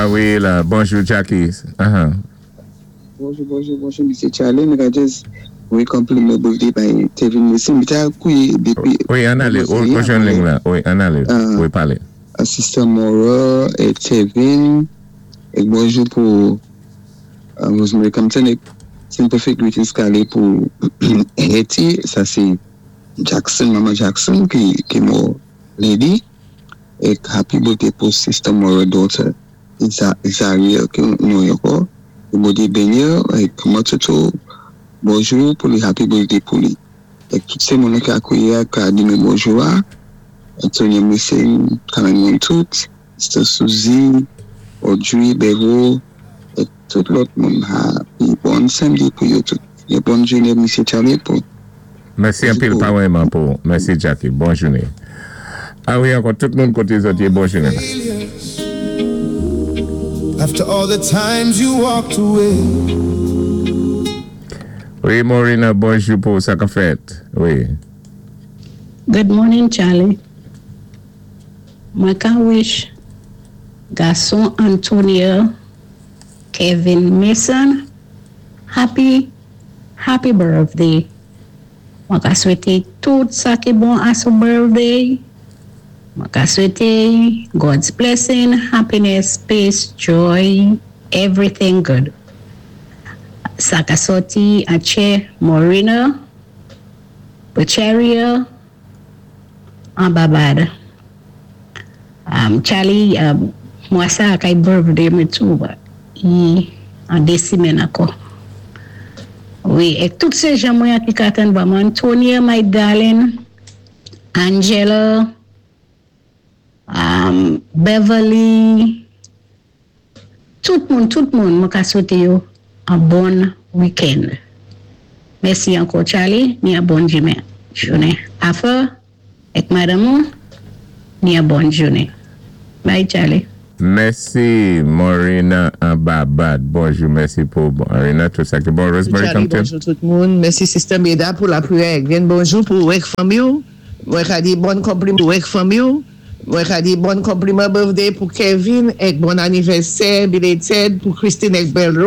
Ah wi, la, bonjou Jackie. Bonjou, bonjou, bonjou, Mr. Charlie. Mwen ka just wi konpliman birthday bay Tevin Messi. Mwen ta kouye depi. Wi, ann alé. Ou jwenn liy la. Wi, ann alé. Wi, palé. Sister Mora é Tevin. É bonjou pou Rosemary Compton é sympathic greetings k alé pou Hetty. Sa sé Jackson, Mama Jackson ki mò lady. É happy birthday pou Sister Mora daughter Zariel ki nou ankò. Bondye béni é kòman Toto, bonjou pou li, happy birthday pou li. É tout sé moun ki akouye ka di mwen bonjou a. Antonio Missing, kanmenm moun tout, Sister Suzy, Audrey, Bevo, é tout lòt moun, happy bon samdi pou yo tout. É bòn jounen, Mesye Charlie, pou Mèsi anpil parèyman pou. Mèsi Jackie. Bòn jounen. Ah wi, ankò tout moun koté zòt yé, bòn jounen. After all the times you walked away. Wi, Morina, bonjou pou sa k ap fèt. Wi. Good morning, Charlie. Mwen ka wish gason Antonio Kevin Mason happy happy birthday. Mwen ka swété tout sa ki bon a son birthday. Mwen ka swété God's blessing, happiness, peace, joy, everything good. Sa ka sòti atchè Morena, Pocheria, an Babad. Charlie, mwa sa kay birthday mwen tou, but i an dé simèn ankò. Wi, é tout sé jan mwen ki ka tann ba mwen. Antonia, my darling, Angela, Beverly, tout moun, mwen ka swété yo an bon weekend. Mèsi ankò, Charlie, ni an bon jounen. Jounen. Afa, èk madanm ou, ni an bon jounen. Bye, Charlie. Mèsi Morena an Babad. Bonjou, mèsi pou Morena, tout sa ki bon. Rosemary Charlie, Compton. Bonjou tout moun. Mèsi Sister Meda pou lapriyè. Byen bonjou pou èk fanmi. Mwen ka di bon konpliman èk fanmi. Mwen ka di bon konpliman birthday pou Kevin é bon anivèsè belated pou Christine èk Bello.